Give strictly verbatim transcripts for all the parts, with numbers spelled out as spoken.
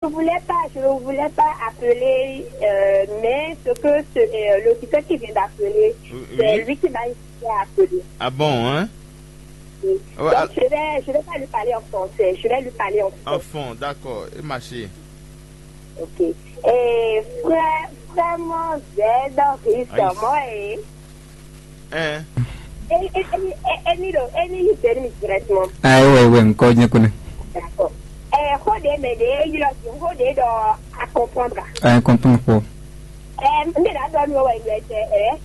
Je ne voulais pas, je ne voulais pas appeler, euh, mais ce que ce, euh, l'auditeur qui vient d'appeler, oui, c'est lui qui m'a incité à appeler. Ah bon, hein? Oui. Donc, je vais, je vais pas lui parler en français, je vais lui parler en français. Enfant, d'accord, et ma chérie. Ok. Et frère, vraiment, j'ai dans Christ, moi, et Hein? Any, any, any, any, any, you tell me directement. Ah, ouais, ouais, encore, je connais. D'accord. Eh, hold a minute, eh, you know, hold it, uh, I comprendre. Ah, I comprendre quoi? Eh, mais là, donne-moi, ouais, ouais, eh,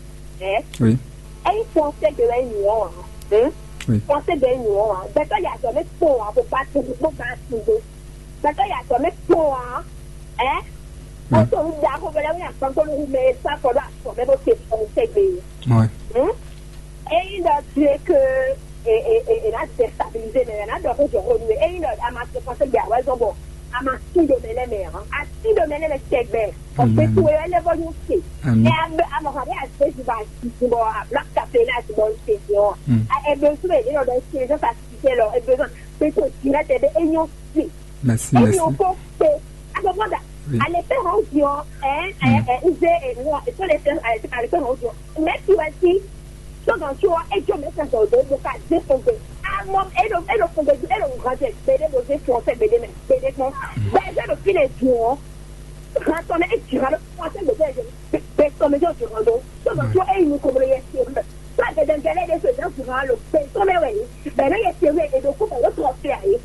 eh. Oui. Eh, il faut que de la union, hein. Hmm? Oui. Faut que de l'union, hein. D'accord, il y a jamais faux, hein, faut pas tout, faut pas tout. Gbɛtɔ́ ya tɔ mɛ kpɔn ǎ, ɛ? Ó to un da xó vɛlɛ wín akpankpɔ́ nú hu mɛ e sá kɔ ɖó afɔ mɛ bó te fɔn tɛgbɛ. Ényí ɖɔ tu é ke è nǎ dɛstabilize mɛ, è nǎ ɖɔ xó jɔ xó nú we. Ényí ɖɔ a ma se fɔn tɛgbɛ ǎ wɛ zɔ́n bɔ a ma tín ɖo mɛ lɛ́ɛ mɛ ǎ. A tín ɖo mɛ lɛ́ɛ mɛ tɛgbɛ, ɔgbɛ towe wɛ lɛ́ vɔ nyɔ́ se. Ɛ a mɔ hɔn ɖé a zě zun bɔ a zǐzun bɔ a blɔ́ kafe lé a zǐn bɔ un se din ɔ́. A ɛ ɖo zún mɛ ɖě nɔ ɖɔ se zɔ́n sa sisɛ lɔ ɛ ɖo zɔ́n. Pé kò jí lɛ́ tɛ ɖé é nyɔ́ sí. Merci, é merci. Nyɔ́ kó pé. Agbɔgbɔ da. Oui. Ale pé hɔn jí ɔ ɛ ɛ ɛ nze ɛ nɔ ètò le fɛ ale pé hɔn jí ɔ mɛ ti wɛ sí. Sɔgɔn tí ɔ é jó mɛ sɛ sɔgɔn dó bó ka dé fɔn gbé. Amɔ é ɖo é ɖo fɔn gbé é ɖo nǹkan jɛ gbédé bó dé fɔn sɛ gbédé mɛ gbédé kpɔn. Bɛɛ sɛ ɖo fí lɛ jí ɔ. Hàn tɔn mɛ é jí hàn ló fɔn sɛ gbédé jɛ gbé tɔn mɛ jɔ jí hàn ló. Sɔgɔn tí ɔ é yi nu kɔmɔ yɛ sí ɔ mɛ. Sɔ gɛdɛgɛdɛ ɖe so ìdá fún wa lo pé tó mɛ wɛ ni bɛnɛ yɛ te wɛ edo kó bɛnɛ tɔ fɛ ayi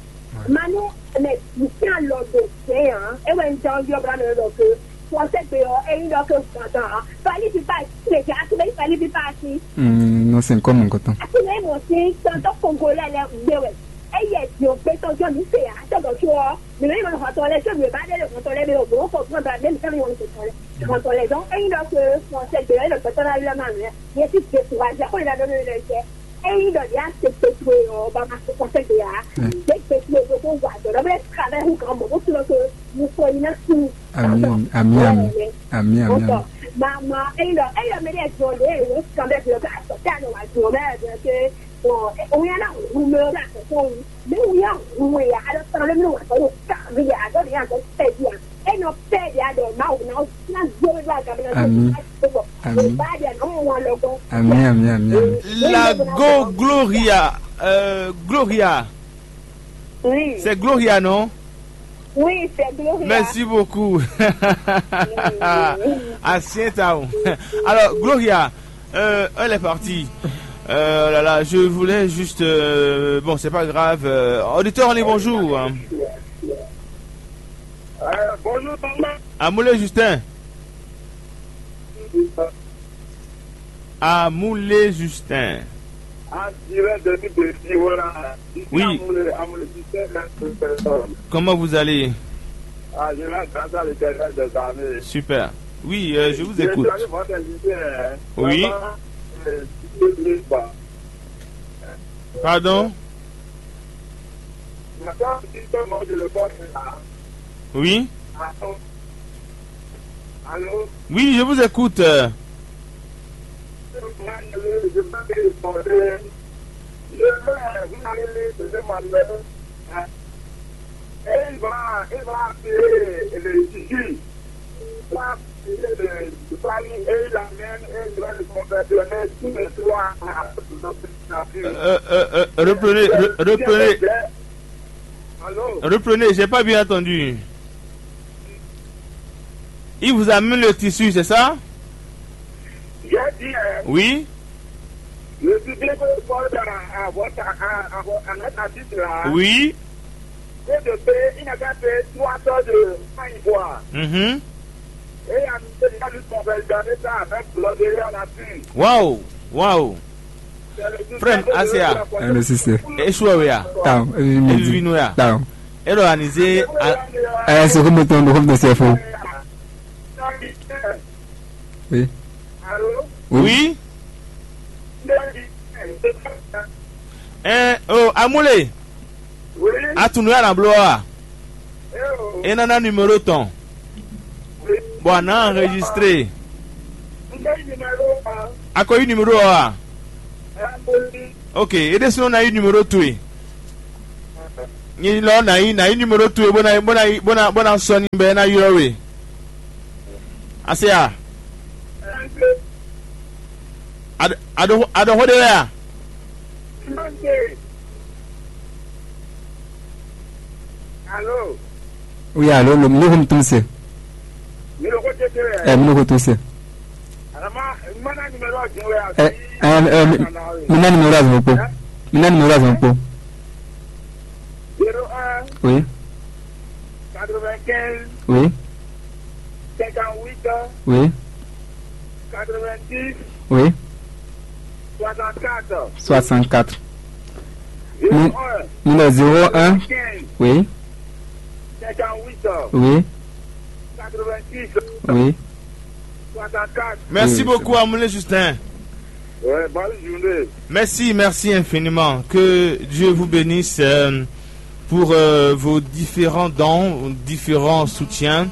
manu mɛ nsia lɔ do sɛn ya e wɛ n jɛ ɔn yɔ bla mɛ lɔ ke fɔsɛ gbe ɔ eyi lɔ ke gbɔn tɔn ɔ fali pipa ti le ke ati bɛ fali pipa ti. Nɔ sɛn kɔ mɔ nkɔtɔn. Ati bɛ mɔ si tɔntɔ kongolɛ lɛ gbe wɛ eye di o gbɛtɔ jɔ mi se ya tɔgɔ tso ɔ mi bɛ yɔ hɔtɔ lɛ tso mi ba de le hɔtɔ lɛ mi o gbɔ kɔ gbɔn ba mi mi sɛ mi wɔn se tɔ lɛ. Hɔtɔ lɛ dɔn eyi lɔ ke fɔsɛ gbe ɔ e lɔ gbɛtɔ la lɛ ma mi yɛ ti de kura jɛ ko yi la dɔ mi lɛ jɛ. Eyi ɖɔ ɖi ase kpekpe ɔ ba ma se kɔsɛ de ya. Ɖe kpekpe ɖo ko wa dɔ ɖɔ bɛ kavɛ hu kan mɔ ko tlo ko mu kɔ yi na su. Ami ami ami ami ami ami. Mama eyi ɖɔ eyi ɖɔ mɛ ɖe jɔ ɖe eyi kan bɛ blɔ ka sɔ ta nɔ wa jɔ mɛ ɖe ke o ya na hu mɛ o la sɔ ko hu mɛ o ya hu ya a ɖɔ sɔ ɖe mi wa sɔ ɖo ka mi ya a ɖɔ ɖe ya sɔ pɛ di ya. Ami. Ami. Ami, ami, ami, ami. La Go Gloria. Euh, Gloria. Oui. C'est Gloria, non? Oui, c'est Gloria. Merci beaucoup. Asienta. Alors, Gloria, euh, elle est partie. Euh, là, là, je voulais juste, euh, bon, c'est pas grave. Euh, auditeur, on est bonjour, hein. Euh, bonjour, Thomas. Amoulé Justin. Amoulé Justin. En direct depuis Bercy, voilà. Ici, oui. Amoulé, Amoulé Justin, la personne. Comment vous allez? Ah, je vais grâce à l'Éternel des armées. Super. Oui, euh, je vous écoute. Je suis allé voir des lycéens, hein. Oui. Vraiment, euh, je ne sais pas. Pardon? Oui. Oui, je vous écoute. Euh, euh, euh, reprenez, re- reprenez, reprenez, j'ai pas bien entendu. Il vous a mis le tissu, c'est ça? J'ai dit, euh, oui. Le public répond à, à votre, à, à, à notre artiste là. Oui. Que de payer, il n'a qu'à payer trois heures de pain ivoire. Mhm. Et il a mis ça lui convertir ça avec l'ordre à la fin. Waouh, waouh. Frère, A C A. Hello, sister. Eshwɛ we ya? Down. Evi mi di. Evi no ya? Down. Ero anize. Ɛ, so ko mo tɔn do ko mo tɔn sɛ fo. Oui. Oui. Oui. Ɛ, o, Amule. Atunu ya na bló wa. E nana numéro tɔn. Bon, a nǎ enregistré. A ko yí numéro ɔ́ a? Ok, é ɖésúnɔ ná yí numéro towe. Nyi lɔ nǎ yí nǎ yí numéro towe bó ná bó ná bó ná bó ná sɔ́ n'i bɔ é ná ylɔ́ we. A se a? A ɖo xó ɖé wɛ a? Alo. Oui, allô, le micro me tombe. Mi ɖo xó tete wɛ. Eh, mi ɖo xó tose. Alama, mana numéro jɛn wɛ a? Eh, eh, eh, mi, mi ná numéro azɔn kpo. Mi ná numéro azɔn kpo. Zéro un. Oui. Quatre-vingt-quinze. Oui. Cinquante-huit. Oui. Quatre-vingt-dix. Oui. Soixante-quatre. Soixante-quatre. Zéro un. Numéro zéro un. Quinze. Oui. Cinquante-huit. Oui. Quatre-vingt-dix. Oui. Soixante-quatre. Merci beaucoup, Amoulé Justin. Ouais, bonne journée. Merci, merci infiniment. Que Dieu vous bénisse, euh, pour, euh, vos différents dons, différents soutiens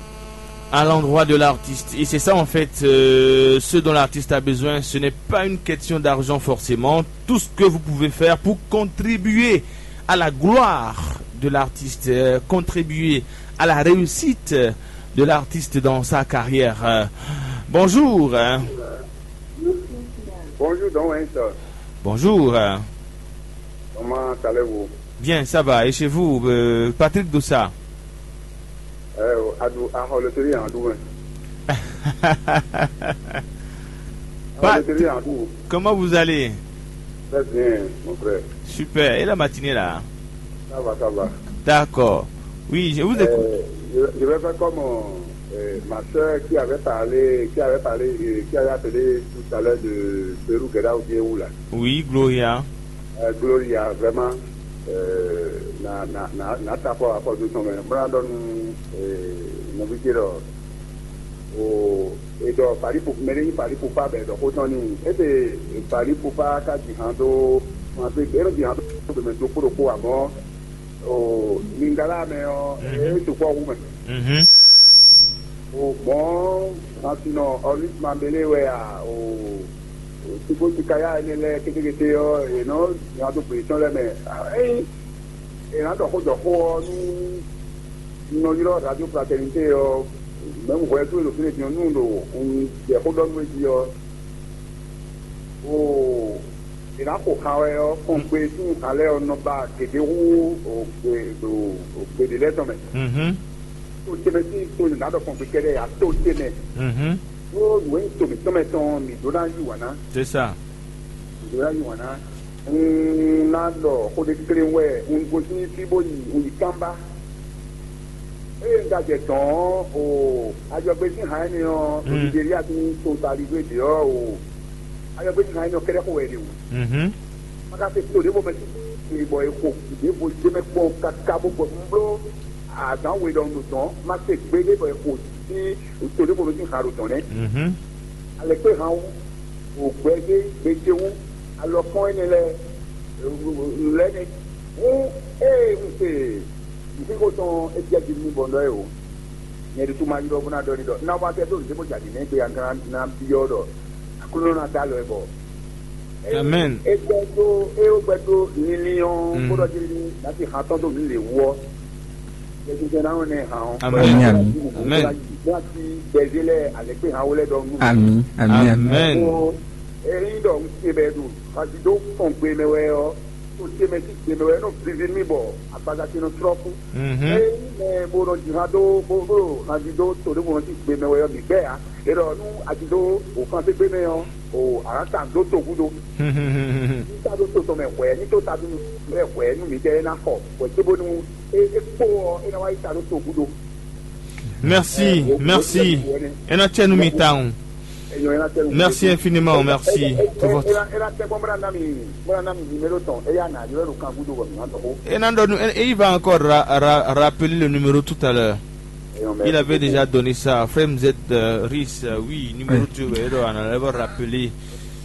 à l'endroit de l'artiste. Et c'est ça, en fait, euh, ce dont l'artiste a besoin. Ce n'est pas une question d'argent forcément. Tout ce que vous pouvez faire pour contribuer à la gloire de l'artiste, euh, contribuer à la réussite de l'artiste dans sa carrière. Euh, bonjour, hein. Bonjour, Don Winston. Bonjour, hein. Comment allez-vous? Bien, ça va. Et chez vous, euh, Patrick Dossa? Eh, adu, ah, le télé en double. Pas Patrick, comment vous allez? Très bien, mon frère. Super. Et la matinée là? Ça va, ça va. D'accord. Oui, je vous écoute. Euh, je, je vais faire comme, euh, ma soeur qui avait parlé, qui avait parlé, euh, qui avait appelé tout à l'heure de Pérou Guéda ou bien où là. Oui, Gloria. Euh, Gloria, vraiment, euh, na na na na ta fɔ afɔ du tɔn mɛ. Bla dɔ nu, euh, nɔvi ce dɔ o e dɔ Paris pour mɛ ni Paris pour pas bɛ dɔ ko tɔn ni. E te Paris pour pas ka di han do, ma pe e di han do do mɛ do ko do ko amɔ. O Lingala mɛ ɔ́, e sukpɔ wu mɛ. Mhm. O mɔ̌, Sansinɔ Ɔlísmabélé wɛ a? O Sigo Sikaya énɛ́ lɛ́ɛ kétékété ɔ́, è nɔ nya dó gbě tɔn lɛ́ɛ mɛ. Ényí è nǎ ɖɔ xó jɔ xó ɔ́, nú un nɔ ylɔ́ Radio Fraternité ɔ́, mɛ̌ hwɛ dó e ɖo fínɛ́ din ɔ́, nú un ɖo un jɛ xó ɖɔ nú we jí ɔ́, Oo, è nǎ xo xa wɛ ɔ́, kpɔ́n gbe sín alɛ ɔ́ nɔ ba gěgé hú o gbe ɖo o gbe ɖě lɛ́ɛ tɔn mɛ. Mhm. To ce mɛ sín to nǎ ɖɔ kpɔ́n gbe kɛ́ɖɛ́ ǎ, to ce mɛ. Mhm. Ɖó nǔ e nyí to mǐtɔn mɛ tɔn mǐ ɖó ná yí wǎn ná. C'est ça. Mǐ ɖó ná yí wǎn ná. Un ná ɖɔ xó ɖé klé wɛ, un gosín fí bó yi, un yi kánbá. Ée un ka jɛ dɔ̌n ɔ́, o ajɔgbé sín han énɛ́ ɔ́, Mm. Nigeria sín totalivé ɖě ɔ́, o ajɔgbé sín han énɛ́ ɔ́ kɛ́ɖɛ́ xo wɛ ɖe o. Mhm. Ma ka se to ɖěvo mɛ sín bɔ è xo ɖěvo jɛ mɛ kpɔ́n káká bó gbɔ bló azǎn we ɖɔhun ɖo dɔ̌n, ma se gbeɖé bɔ è xo sín to ɖěvo mɛ sín han ɖo dɔ̌n nɛ́. Mhm. Alɛkpé han wú, wǒgbɛ́ ɖé gbe ce wú, alɔkpɔ́n énɛ́ lɛ́ɛ, lɛ́ɛ nɛ́. Hǔn ée un se nǔxixo tɔn é jɛ jí nú mi bɔ un ɖɔ é o. Nyɛ ɖésú ma ylɔ́ bó ná ɖɔ n'i ɖɔ ná wá tɛ́ dó nǔɖé bó jɛ aɖǐ nɛ́ gbe agan ná byɔ́ ɖɔ Aklúnɔ ná dó alɔ ɛ bɔ. Amɛn. É gbɛ́ dó é ó gbɛ́ dó linlin ɔ́, Mm. bó ɖɔ jí ní ná ti han tɔn dó nǔ lě wú ɔ́. Yɛsinsɛn ná wɔn nɛ hàn ɔ́. Amɛn. Amɛn. Amɛn. Ní a ti gbɛzé lɛ alɛkpé hàn wó lɛ ɖɔ nú. Ami, ami, ami. Amɛn. Ko eyi ɖɔ un se bɛ ɖo xazido kɔn gbe mɛ wɛ ɔ́, to ce mɛ sí gbe mɛ wɛ nɔ vivi mì bɔ agbaza ce nɔ trɔ́ kú. Mhm. Eyi mɛ bo nɔ ji hã dó bó bó hanzido to ɖé bo nɔ sí gbe mɛ wɛ ɔ́, mǐ gbɛ ǎ. E ɖɔ nú a ti dó o xanté gbe mɛ ɔ́, o a nǎ ta dó to gúdo. Ní ta ɖó to tɔn mɛ hwɛ̌, ní tó ta ɖó mɛ hwɛ̌ nú mǐtɛɛ é ná xɔ hwɛ̌ cóbónú é é kpó ɔ́, é ná wá yi ta ɖó to gúdo. Merci, merci. É ná cɛ nú mi tawun. Merci infiniment, merci pour votre. É ná tɛ gbɔn bó ná ná mi bó ná ná mi numéro tɔn, é yá nà ylɔ́ ɖo kan gúdo bɔ mǐ ná dɔ xó. É ná ɖɔ nú é, il va encore ra, ra, rappeler le numéro tout à l'heure. Il avait déjà donné ça. Frère M Z, euh, Ris, euh, oui, numéro tu veux, alors on allait rappeler.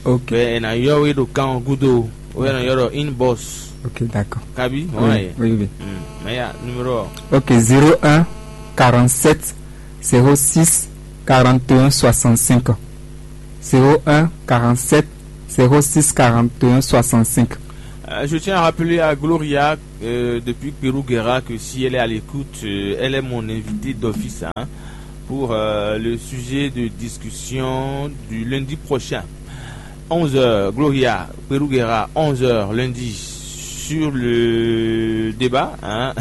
Ok. Mais on a eu le camp Gudo, on a eu une boss. Ok, d'accord. Kabi, Oui, ouais. oui, oui. Hmm. Mais il y a numéro. Ok, zéro un quarante-sept zéro six quarante et un soixante-cinq. Zéro un quarante-sept zéro six quarante et un soixante-cinq. Euh, je tiens à rappeler à Gloria, euh, depuis Peruguera, que si elle est à l'écoute, euh, elle est mon invitée d'office, hein, pour euh, le sujet de discussion du lundi prochain. Onze heures, Gloria Peruguera, onze heures lundi, sur le débat, hein,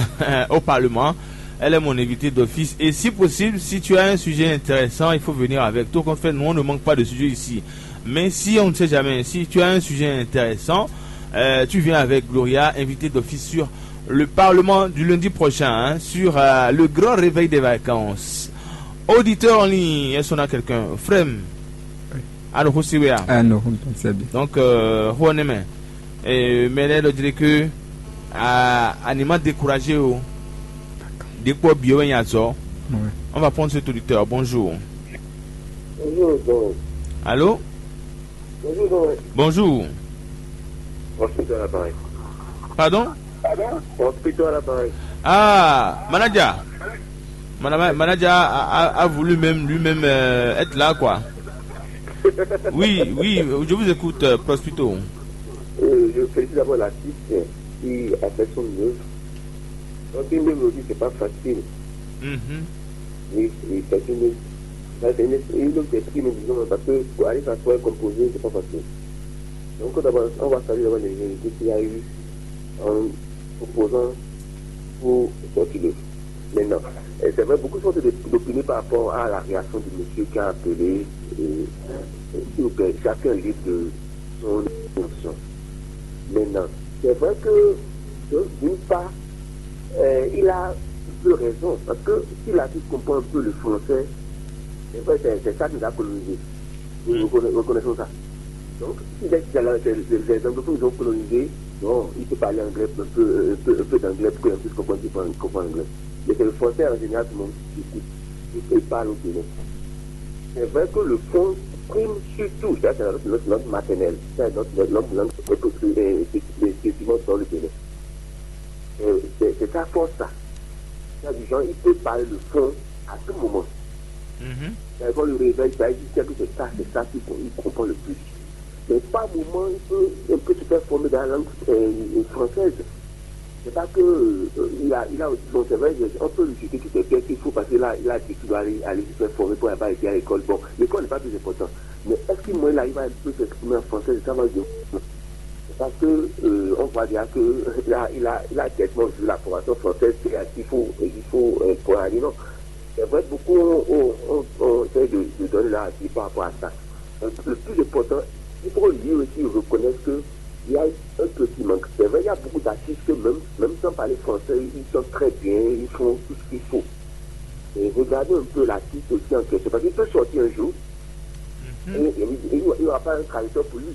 au Parlement. Elle est mon invitée d'office. Et si possible, si tu as un sujet intéressant, il faut venir avec. Tout compte fait, nous, on ne manque pas de sujets ici. Mais si on ne sait jamais, si tu as un sujet intéressant, euh, tu viens avec Gloria, invitée d'office sur le Parlement du lundi prochain, hein, sur euh, le grand réveil des vacances. Auditeur en ligne, est-ce qu'on a quelqu'un? Frem, alors, c'est bien. Ah non, c'est bien. Donc, euh, on est, mais, mais là, je dirais que à, à ne pas décourager, oh, des points bio et azor. Ouais. On va prendre cet auditeur. Bonjour. Bonjour, donc. Allô? Bonjour, donc. Bonjour. Hospital à l'appareil. Pardon? Hospital à l'appareil. Ah, manager. Mana- Manager a, a- a voulu même lui-même euh, être là, quoi. Oui, oui, je vous écoute, euh, Prospito. Euh, je félicite d'abord l'artiste qui a fait son œuvre. Donc, une mélodie, c'est pas facile. Mhm. Oui, oui, c'est une, ça, c'est une, une œuvre d'esprit, nous disons, parce que pour arriver à soi composer, c'est pas facile. Donc, d'abord, on va saluer d'abord les invités qu'il y a eu en proposant pour sortir le. Maintenant, euh, c'est vrai, beaucoup sont de- d'opinion par rapport à la réaction du monsieur qui a appelé. Euh, euh, s'il vous plaît, chacun est libre de son émotion. Maintenant, c'est vrai que, de- d'une part, euh, il a un peu raison, parce que si l'artiste comprend un peu le français, c'est vrai, c'est c'est ça qui nous a colonisés. Nous reconna- reconnaissons ça. Donc, si les, les, les, les anglophones nous ont colonisés, non, il peut parler anglais, un peu, un peu, un peu d'anglais pour qu'on puisse comprendre, comprendre, comprendre l'anglais. Mais c'est le français en général que l'on écoute et il parle au Bénin. C'est vrai que le fond prime surtout, ça c'est notre, notre langue maternelle, c'est notre, notre langue, langue, euh, euh, effectivement dans le Bénin. Euh, c'est c'est sa force ça. Il y a des gens, il peut parler le fond à tout moment. Mhm. Quand le réveil, ça existe, que c'est ça, c'est ça qu'il faut- il comprend le plus. Mais par moment, il peut, il peut se faire former dans la langue euh, française. C'est pas que euh, il a, il a aussi, bon, c'est vrai, on peut lui jeter toutes les pièces qu'il faut parce qu'il a, il a dit qu'il doit aller, aller se faire former pour ne pas été à l'école. Bon, l'école n'est pas plus important. Mais est-ce que moi, il arrive à un peu s'exprimer en français, c'est ça, moi, je... Parce que euh, on voit déjà que il a, il a, il a tellement vu la formation française qu'il faut, il faut euh, pour aller, non. C'est vrai, beaucoup ont, ont, ont, ont essayé de, de donner leur avis par rapport à ça. Donc, le plus important, il faut lui aussi reconnaître que il y a un petit manque. C'est vrai, il y a beaucoup d'artistes que même, même sans parler français, ils sont très bien, ils font tout ce qu'il faut. Et regardez un peu l'artiste aussi en question. Parce qu'il peut sortir un jour et et il n'y aura pas un traducteur pour lui.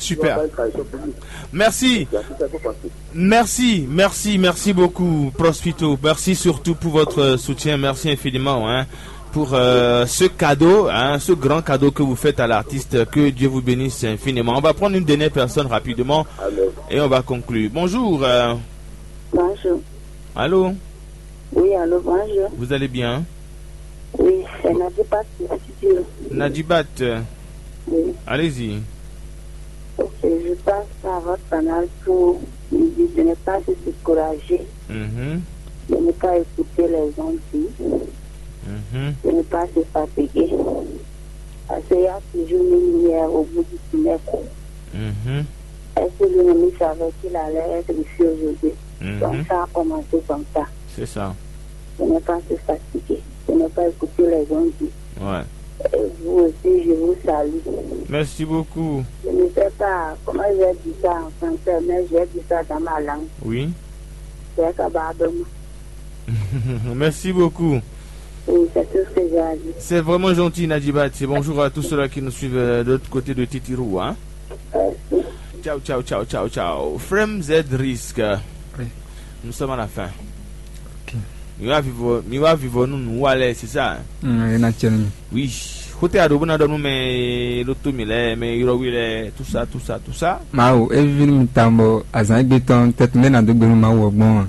Il n'y aura Super. Pas un traducteur pour lui. Merci. C'est à ça qu'il faut penser. Merci, merci, merci beaucoup, Prospito. Merci surtout pour votre soutien. Merci infiniment, hein, pour euh, ce cadeau, hein, ce grand cadeau que vous faites à l'artiste. Que Dieu vous bénisse infiniment. On va prendre une dernière personne rapidement Amen. Et on va conclure. Bonjour. Euh, Bonjour. Allô? Oui, allô, bonjour. Vous allez bien? Oui, c'est Nadi Patrick Studio. Nadibat, euh, Oui. Allez-y. Ok, je passe par votre canal pour vous dire de ne pas se décourager, Mhm, de ne pas écouter les gens dire, mhm, de ne pas se fatiguer. Parce qu'il y a toujours une lumière au bout du tunnel. mhm. Est-ce que lui-même il savait qu'il allait être ici aujourd'hui? Mhm. Donc ça a commencé comme ça. C'est ça. De ne pas se fatiguer, de ne pas écouter les gens dire. Ouais. Et vous aussi, je vous salue. Merci beaucoup. Je ne sais pas comment je vais dire ça en français, mais je vais dire ça dans ma langue. Oui. C'est Kabadoma. Merci beaucoup. Oui, c'est tout ce que j'ai à dire. C'est vraiment gentil, Nadibat. Et bonjour à tous ceux-là qui nous suivent euh, de l'autre côté de Titirou, hein. Euh, Ciao, ciao, ciao, ciao, ciao. Frem Z Risk. Oui. Nous sommes à la fin. Ok. Mi wá vivo, mi wá vivo nú nǔ wa lɛ, c'est ça, hein? Mm, e na tiɛ nɔ nyi. Oui. Xóte aɖo bó ná ɖɔ nú mɛ ló tó mi lɛ, mɛ ylɔ́ wi lɛ, tout ça, tout ça, tout ça. Mawu, e víví nú mi tawun bɔ azǎn égbé tɔn tɛ́tún lɛ́ɛ ná dó gbe nú Mawu ɔ́ gbɔn a?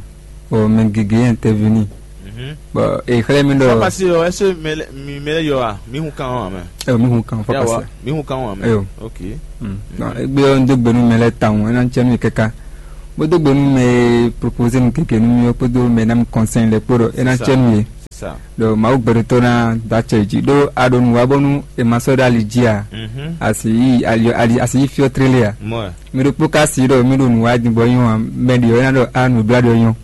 Bɔ mɛ gěgé nyí tɛ́ví n'i. Bɔ e xlɛ́ mi ɖɔ. Fɔ pasi ɔ, ɛsɛ mi mɛ lɛ yɔ a? Mi hun kan ɔ amɛ. Ɛ mi hun kan fɔ pasi. Mi hun kan ɔ amɛ. Eyo. Ok. Bon, egbe ɔ́, un dó gbe nú mɛ lɛ́ɛ tawun, é ná cɛ nú yě káká. Bó dó gbe nú mɛ e propozé nú keke nú mì ɔ́ kpódó mɛ e ná mì kɔnsɛ́n lɛ́ɛ kpó ɖɔ é ná cɛ nú yě. Ɖɔ Mawu gbɛɖotɔ́ ná dó acɛ yě jí ɖó a ɖo nǔ wa bónú è ma sɔ́ ɖó ali jí a? A sì yí ali a sì yí fí ɔ́ tlélé a? Mi ɖokpó ka si ɖɔ mì ɖo nǔ wa din bɔ nyɔ́ a, mɛ ɖě ɔ́ é ná ɖɔ a nǔ e blá ɖɔ nyɔ́.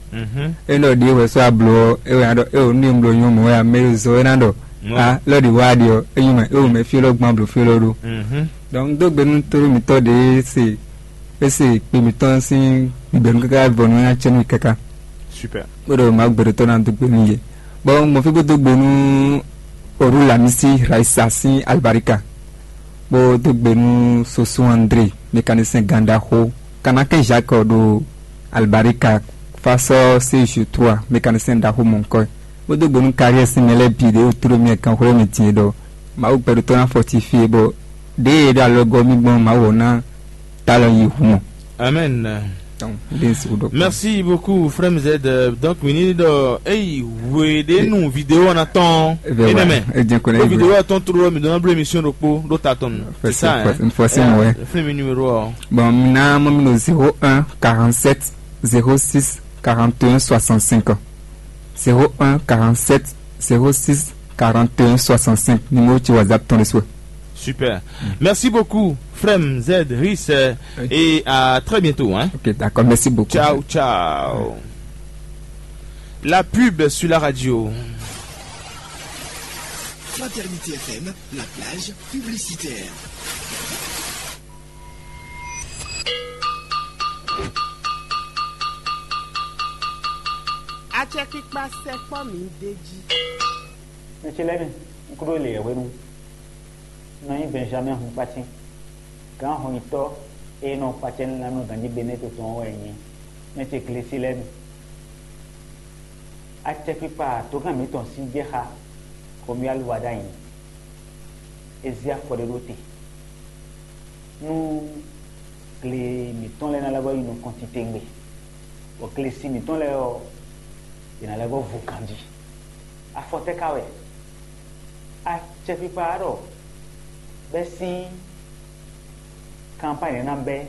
É nɔ ɖě wɛ sɔ́ a blǒ ɔ́, é wɛ ná ɖɔ é wǒ nú e un bló nyɔ́ mɔ̌ wɛ a? Mɛ e zɔ é ná ɖɔ a lɔ́ ɖě wá ɖe ɔ́, é nyí mɛ é wǒ mɛ fí élɔ́ gbɔn a blǒ fí élɔ́ ɖó. Donc dó gbe nú tóɖó mǐtɔn ɖě e se é se kpe mǐtɔn sín gbɛ̌nú káká vɔ nú nya cɛ́nú káká. Super. Bó ɖɔ Mawu gbɛɖotɔ́ ná dó gbe nú yě. Bɔ un gbɔn fí bó dó gbe nú Oru Lamisi Raisa sín alibarika, bó dó gbe nú Soso André, mécanicien gǎn ɖaxó, Kanakɛn Jacques ɖo alibarika, Fasɔ Seju Tua, mécanicien ɖaxó mɔ̌hunkɔ, bó dó gbe nú Kariɛ sín mɛ lɛ́ɛ bǐ ɖě wútu ɖo mì kanxwlɛ́ mì din é ɖɔ Mawu gbɛɖotɔ́ ná fɔtifie bɔ ɖěe e ɖo alɔgɔ́ mì gbɔn Mawu ɔ́ ná talɔ yi hu mɔ. Amen. Donc, ndé n sixú ɖɔ kpɔ́n. Merci beaucoup, frère Mzed. Donc, mi ní ɖɔ eyi hwe ɖé nu vidéo ɔ́ ná tɔn. Eve énɛ́ wa, mɛ. Edze ko lɛ Ɖó vidéo ɔ́ tɔn tló mi dɔn bló émission ɖokpó ɖó ta tɔn. C'est ça, hein? Fɔsi mɔ wɛ. Fún mi numéro ɔ́. Bon, mi ná mɔ mi ɖo zéro un quarante-sept zéro six quarante et un soixante-cinq. Zéro un quarante-sept zéro six quarante et un soixante-cinq, numéro de WhatsApp tɔn ɖésú wɛ. Super. Merci beaucoup, frère Z, Riss, euh, et à très bientôt, hein. Ok, d'accord, merci beaucoup. Ciao, ciao. La pub sur la radio. Fraternité F M, la plage publicitaire. Acɛkpikpa sɛkpɔ́ mǐ d'é jí. Mɛ ce lɛ́ɛ mi, un kúɖó le yɛhwenu. Un nɔ nyí Benjamin Hunkpatín, gǎn hɔnnyitɔ́ e nɔ kpacɛ nylá nú ganjí Benɛ́to tɔn ɔ́ wɛ nyí. Mɛ ce Glesi lɛ́ɛ mi. Acɛkpikpa dǒgan mǐtɔn sín jɛ xá Romuald Wadagni. É zé afɔ ɖé ɖó te nú gle mǐtɔn lɛ́ɛ ná lɛ́ vɔ́ yi nukɔn titewungbe, bɔ glesi mǐtɔn lɛ́ɛ ɔ́, yě ná lɛ́ vɔ́ vo ganjí. Afɔ tɛ́ ka wɛ? Acɛkpikpa ɔ́ ɖɔ bɛ́ sín kanpány ná bɛ́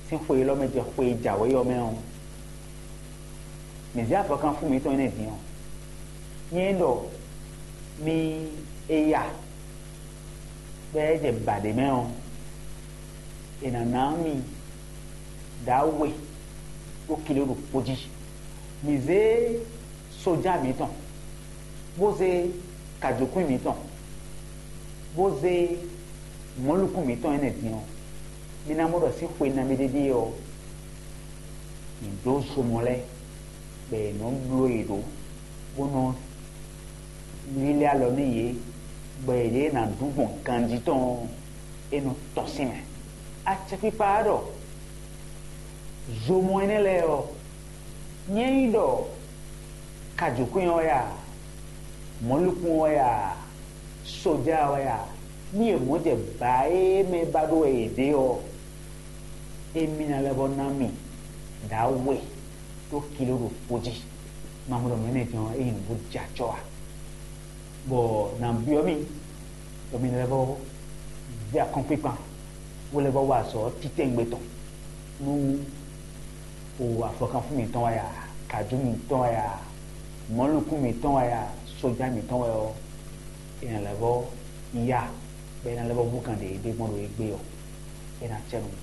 sín xwe élɔ́ mɛ jɛ xwe e jǎwe ɔ́ mɛ ɔ́, mǐ zé avɔkanfún mǐtɔn énɛ́ din ɔ́, nyɛ ɖɔ mi e ya bɔ é jɛ ba ɖě mɛ ɔ́, è nǎ ná mi ɖǎwe ɖó kile ɖokpó jí. Mǐ zé sójá mǐtɔn, bó zé kajǒkwín mǐtɔn, bó zé mɔ̌likún mǐtɔn énɛ́ din ɔ́, mi ná mɔ ɖɔ sín xwe nabí ɖéɖée ɔ́, mǐ ɖó zomɔ lɛ́ɛ bɔ è nɔ bló yě ɖó, bó nɔ lílɛ́ alɔ nú yě, bɔ yěɖée ná ɖu gbɔn ganjí tɔn ɔ́, é nɔ tɔ́n sín mɛ. Acɛkpikpa ɔ́ ɖɔ zomɔ énɛ́ lɛ́ɛ ɔ́, nyɛ nyí ɖɔ kajǒkwín ɔ́ wɛ a, mɔ̌likún ɔ́ wɛ a, sójá ɔ́ wɛ a, nú yě mɔ jɛ bǎ e mɛ ba ɖó wɛ yě ɖe ɔ́, émí ná lɛ́ vɔ́ ná mì ɖǎwe ɖó kilo ɖokpó jí. Ma mɔ ɖɔ mɛ̌ mɛ din ɔ́, é nyí nǔ bó jɛ acɔ́ ǎ. Bɔ nǎ byɔ́ mì ɖɔ mi lɛ́ vɔ́ zé akɔ́nkpinkpan, bó lɛ́ vɔ́ wa azɔ̌ titɛngbɛ tɔn nú o afɔkanfún mǐtɔn wɛ a, kǎjú mǐtɔn wɛ a, mɔ̌likún mǐtɔn wɛ a, sójá mǐtɔn wɛ ɔ́, è nǎ lɛ́ vɔ́ ya, bɔ è nǎ lɛ́ vɔ́ hú gǎn ɖě e ɖe gbɔn ɖo égbé ɔ́, é ná cɛ nú mì.